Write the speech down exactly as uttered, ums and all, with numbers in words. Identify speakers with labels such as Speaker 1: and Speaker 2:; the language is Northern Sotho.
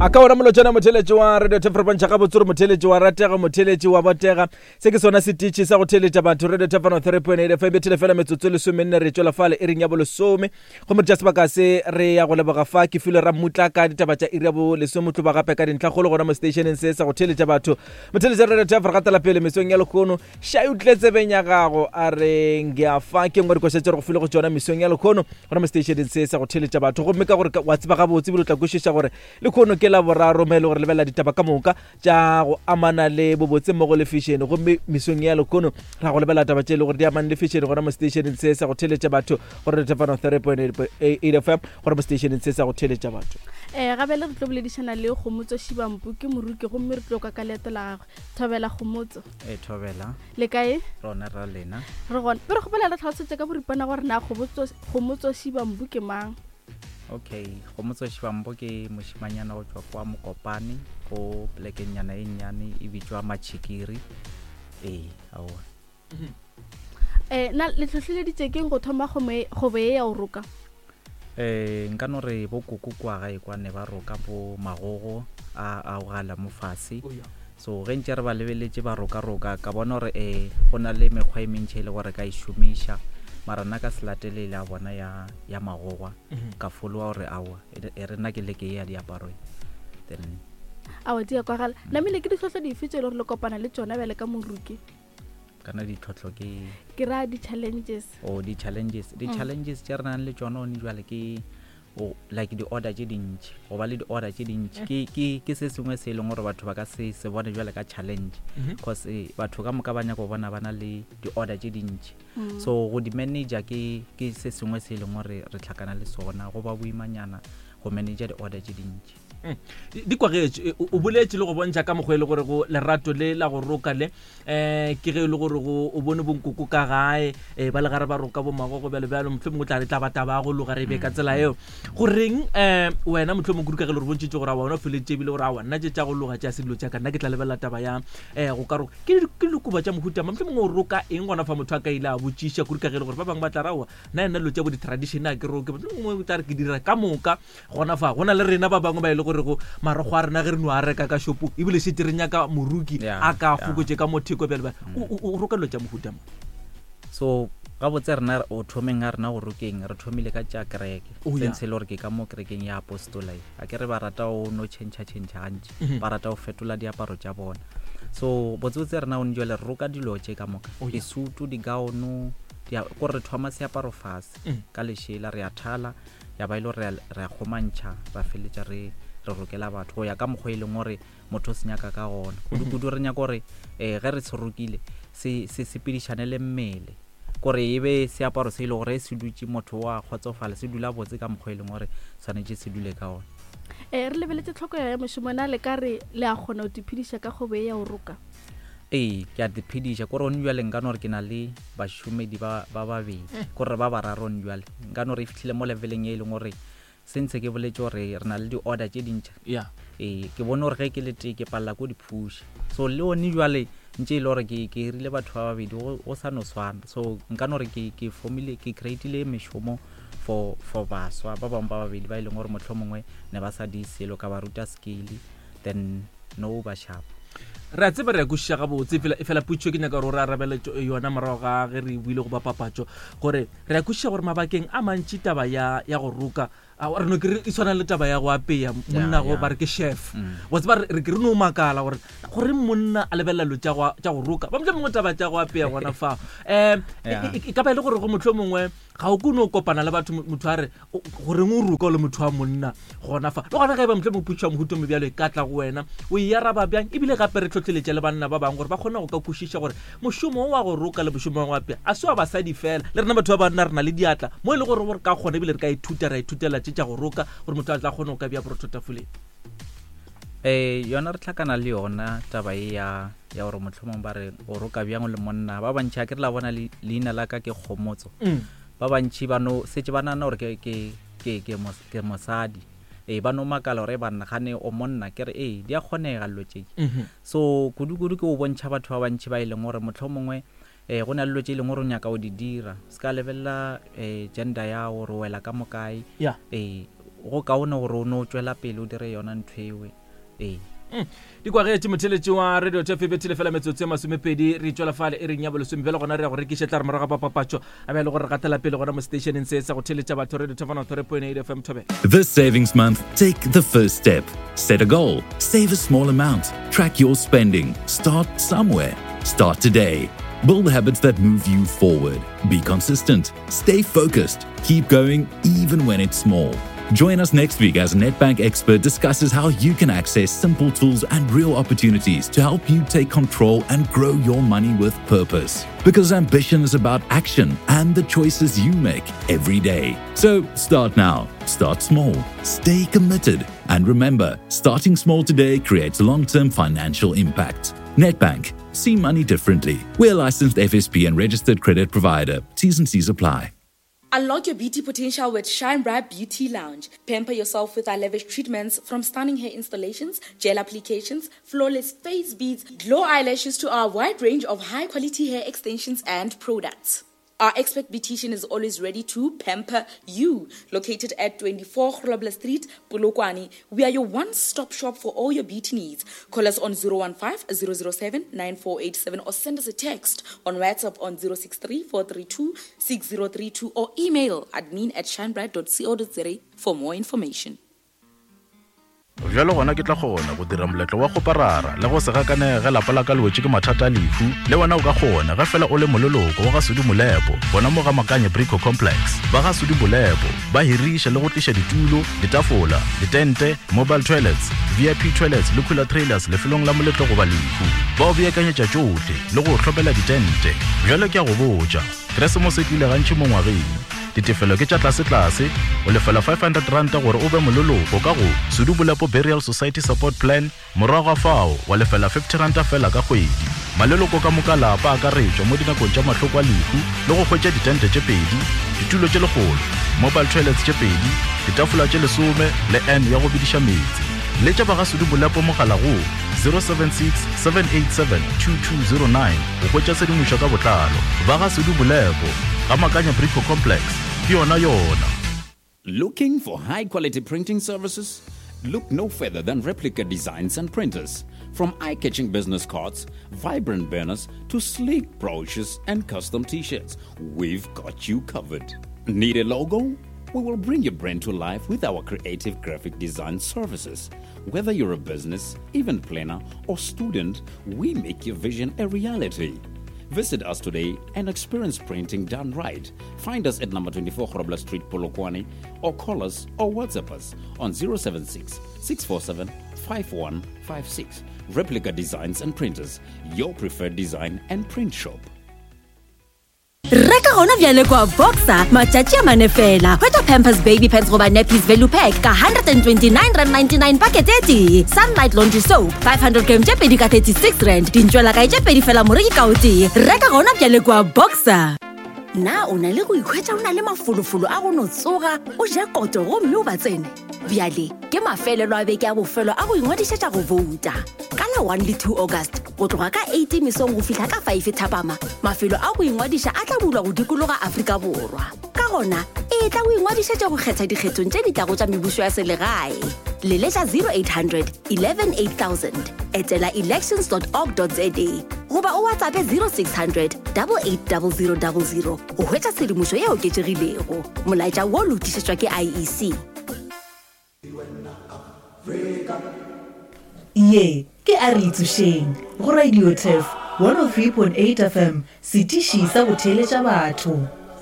Speaker 1: A ka ona molotšana motheletši wa Radio Thefro bontšha gabotse gore motheletši wa ratega, motheletši wa botega. Se ke sona setiši sa go theletša batho Radio Thefro three point eight F M. Bethele fela metsotso lesomenne re tšwela fale iring ya bolesome. Gomme re tša sebaka se re ya go leboga fa ke filwe Rammutla ka ditaba tša iri ya bolesome tloba gape ka dintlhakgolo gona mo stationeng se sa go theletša batho. Motheletši wa Radio Thefro gatela pele mesong ya lekgono. Šai o tlile tsebeng ya gago a re ngeafa ke nngwe dikoša tše re go file go tšona mesong ya lekgono gona mo stationeng se sa go theletša batho. Gomme ka gore wa tseba gabotse ebile o tla kwešiša gore lekgono ke la boraro mo e le gore lebelela ditaba ka moka tša go amana le bobotse mmogo le fashion. Gomme mesong ya lekgono ra go lebelela taba tše e le gore di amane le fashion gona mo stationeng se sa go theletša batho gore re thefano three point eight F M gona mo stationeng se sa go theletša batho.
Speaker 2: Eh gabele re tlo boledišana le Kgomotso Shibampu ke moruki gomme re tlo ka ka leeto la gagwe. Thobela Kgomotso.
Speaker 3: Eh thobela.
Speaker 2: Le kae?
Speaker 3: Rona ra lena.
Speaker 2: Re gona. Re kgopela re tlhalosetse ka boripana gore na Kgomotso Kgomotso Shibampu ke mang?
Speaker 3: Okay, Kgomotso Shibampu ke mošimanyana go tšwa kwa Mokopane go plekenyana e nnyane e bitšwa Machikiri. Ee, aowa.
Speaker 2: Eh na le hlohleleditše keng go thoma kgwebo ye ya go roka?
Speaker 3: Eh nka no re bo koko kwa gae kwa ne ba roka bo magogo a a gala mo fase. So ge ntse re ba lebeletše ba roka roka ka bona gore eh go na le mekgwa e mentši e le gore ka e šomiša. Mara nna ka se latelele a bona ya ya magogwa ka followa gore aowa e re nna ke leke ya diaparo then
Speaker 2: aowa di a kwagala. Namile ke ditlhohlo dife tše e le gore le kopana le tšona bjale ka moruki?
Speaker 3: Kana ditlhohlo ke
Speaker 2: ke ra di-challenges.
Speaker 3: Oh di-challenges di-challenges tše re nang le tšona one jwale ke o like di-order tše dintši, go ba le di-order tše dintši ke ke ke se sengwe se e leng gore batho ba ka se se bone jwale ka challenge cause batho ka moka ba nyaka go bona ba na le di-order tše dintši. So go di-manager ke ke se sengwe se e leng gore re tlhakana le sona, go ba boimanyana go manager di-order tše dintši.
Speaker 1: Di kwagetše o boletše le go bontšha ka mokgwa e le gore go lerato le la go roka le eh ke ge e le gore go o bone bonkoko ka gae eh ba le gare ba roka bo magogo bjalo bjalo mohlomongwe o tla re tla ba taba ya go loga re be ka tsela eo. Goreng eh wena mohlomongwe kudu ka ge le re bontšhitše gore a wena o feleditše ebile gore aowa nna tše tša go loga tša se dilo tša ka nna ke tla lebelela taba ya eh go ka roka ke ke dikobo tša mohuta mang mohlomongwe o roka eng gona fa motho a ka ile a botšiša kudu ka ge e le gore ba bangwe ba tla ra aowa nna nna dilo tša bo di-tradition a ke roke mohlomongwe o tla re ke dira ka moka gona fa go na le rena ba bangwe ba e le gore go marogo a rena ge re no a reka ka shopong ebile šetse re nyaka moruki a ka fokotše ka motheko bjale bjale o roka dilo tša mohuta mang?
Speaker 3: So gabotse rena o thomeng ga rena go rokeng re thomile ka tša kereke sense le gore ke ka mo kerekeng ya apostola a ke re ba rata o no change change gantši ba rata go fetola diaparo tša bona. So botsebotse rena o jwale re roka dilo tše ka moka disutu digaono gore re thoma seaparo fase ka lešela re a thala ya ba ile re re a kgomantšha ra feletša re re rokela batho go ya ka mokgwa e leng gore motho o se nyaka ka gona. Kudu-kudu re nyaka gore um ge re se rokile se se sepedišane le mmele kore e be seaparo se e le gore se dutše motho wa kgotsofala se dula botse ka mokgwa e leng gore tshwanetse se dule ka ona.
Speaker 2: Eh re lebeletse tlhokego ya mošomo na le ka re le a kgona go tiphediša ka kgwebo ye ya go roka?
Speaker 3: Ee ke a tiphediša kore one jwale nka no re ke na le bašomedi ba ba babedi kore ba bararo one jwale nka no re e fihlile mo leveleng e leng gore sentse ke boletše gore re na le di-order tše dintšha. Ee ke bone gore ge ke le tee ke palela ko di-push so le one jwale ntše e le gore ke ke hirile batho ba babedi go sa no swana. So nka no re ke ke formile ke creatile mešomo for for baswa ba bangwe ba babedi ba e leng gore mohlomongwe ne ba sa di selo ka ba ruta skill then no ba sharp.
Speaker 1: Re a tseba re a kwešiša gabotse fela fela putšo ke nyaka gore o re arabele yona morago ga ge re buile go ba papatšo gore re a kwešiša gore mabakeng a mantši taba ya ya go roka re no ke re e tshwana le taba ya go apeya monna go ba re ke chef wa tseba re ke re no makala gore gore monna a lebelela dilo tša go roka ba mohlomongwe taba tša go apeya gona fa um e ka ba e le gore go mohlomongwe ga o kone o kopana le batho motho a re goreng o roka o le motho wa monna gona fa le gona ge e ba mohlomongwe putšo ya mohuto mo bjalo e ka tla go wena o e araba bjang ebile gape re tlhotlheletša le banna ba bangwe gore ba kgone go ka kwešiša gore mošomo wa go roka le mošomo wa go apea a se wa basadi fela le rena batho ba banna re na le diatla mo e le gore re ka kgona ebile re ka ithuta ra ithutela tše tša go roka gore motho a tla kgone go ka bja borotho tafoleng.
Speaker 3: Eh yona re tlhakana le yona taba e ya ya gore mohlomong ba re o roka bjang le monna ba bantši a ke re la bona leina la ka ke Kgomotso ba bantši ba no setse ba nana gore ke ke ke ke mosadi ee ba no makala gore banna gane o monna ke re ee di a kgonega dilo tše. So kudu-kudu ke o bontšha batho ba bantši ba e leng gore mohlomongwe eh go na le dilo tše e leng gore o nyaka o di dira se ka lebelela eh gender ya gore o wela ka mokae ee go kaone gore o no tšwela pele o dire yona ntho ewe ee
Speaker 1: di kwagetše motheletši wa radio T F bethile fela metsotso e masomepedi re tšwela fale e reng ya bolesome bjale gona re ya go rekiša tla re morago ga papatšo a be le gore re gatela pele gona mo stationeng se sa go theletša batho radio T F one point eight F M Thobela.
Speaker 4: This savings month, take the first step. Set a goal, save a small amount, track your spending, start somewhere. Start today. Build habits that move you forward. Be consistent. Stay focused. Keep going even when it's small. Join us next week as Nedbank expert discusses how you can access simple tools and real opportunities to help you take control and grow your money with purpose. Because ambition is about action and the choices you make every day. So start now, start small, stay committed, and remember, starting small today creates long-term financial impact. Nedbank. See money differently. We're licensed F S P and registered credit provider. T's and C's apply.
Speaker 5: Unlock your beauty potential with Shine Bright Beauty Lounge. Pamper yourself with our lavish treatments, from stunning hair installations, gel applications, flawless face beads, glow eyelashes to our wide range of high-quality hair extensions and products. Our expert beautician is always ready to pamper you. Located at twenty-four Grobler Street, Polokwane, we are your one-stop shop for all your beauty needs. Call us on zero one five, zero zero seven, nine four eight seven or send us a text on WhatsApp on zero six three, four three two, six zero three two or email admin at shinebright dot co dot za for more information.
Speaker 6: Bjalo gona ke tla kgona go dira moletlo wa go parara le go se gakanege lapa la ka le wetše ke mathata a lehu le wena o ka kgona ge fela o le moleloko wa ga Sudi Molepo gona mo ga Makanye Brico Complex. Ba ga Sudi Molepo ba hiriša le go tliša ditulo, ditafola, ditente, mobile toilets, V I P toilets le cooler trailers lefelong la moletlo goba lehu. Ba o beakanyetša tšohle le go hlopela ditente. Bjalo ke a go botša, Keresemose e tlile gantši mo ngwageng. Ditefelo ke tša tlase-tlase, o lefela five hundred rand gore o be moleloko ka go Sudi Molepo Burial Society Support Plan, morago ga fao wa lefela fifty rand fela ka kgwedi. Maleloko ka moka lapa a akaretšwa mo dinakong tša mahloko a lehu le go hwetša ditente tše pedi, ditulo tše lekgolo, mobile toilets tše pedi, ditafola tše lesome le N ya go bediša meetse. Letša ba ga Sudi Molepo mogala go zero seven six, seven eight seven, two two zero nine go hwetša tshedimošo ka botlalo. Ba ga Sudi Molepo ga Makanya Brico Complex ke yona yona.
Speaker 7: Looking for high quality printing services? Look no further than Replica Designs and Printers. From eye-catching business cards, vibrant banners, to sleek brochures and custom t-shirts, we've got you covered. Need a logo? We will bring your brand to life with our creative graphic design services. Whether you're a business, event planner, or student, we make your vision a reality. Visit us today and experience printing done right. Find us at number twenty-four Grobler Street, Polokwane, or call us or WhatsApp us on zero seven six, six four seven, five one five six. Replica Designs and Printers, your preferred design and print shop.
Speaker 8: Reka gona bjale kwa Boxer matšatši a mane fela. Hwetša Pampers baby pants goba nappies value pack ka one twenty-nine rand ninety-nine packet e tee. Sunlight laundry soap five hundred gram tše pedi ka thirty-six rand. Dintšwela kae tše pedi fela moreki ka o tee. Reka gona bjale kwa Boxer. Na o na le go ikhwetša o na le mafolofolo a go no tsoga o ja koto gomme o ba tsene? Bjale ke mafelelo a beke a bofelo a go ingwadišetša go vouta. Ka la one le two August go tloga ka eight mesong go fihla ka five thapama, mafelo a go ingwadiša a tla bulwa go dikologa Afrika Borwa. Ka gona e tla go ingwadišetša go kgetha dikgethong tše di tlago tša mebušo ya selegae. Leletša zero eight hundred, eleven eight thousand, etela elections dot org dot za goba o WhatsApp zero six hundred, double eight double zero double zero go hwetša tshedimošo ye oketšegilego. Molaetša wo lotišetšwa ke I E C.
Speaker 9: Ye ke a re itsošeng go Radio T E F one oh three point eight F M, setiši sa go theeletša batho.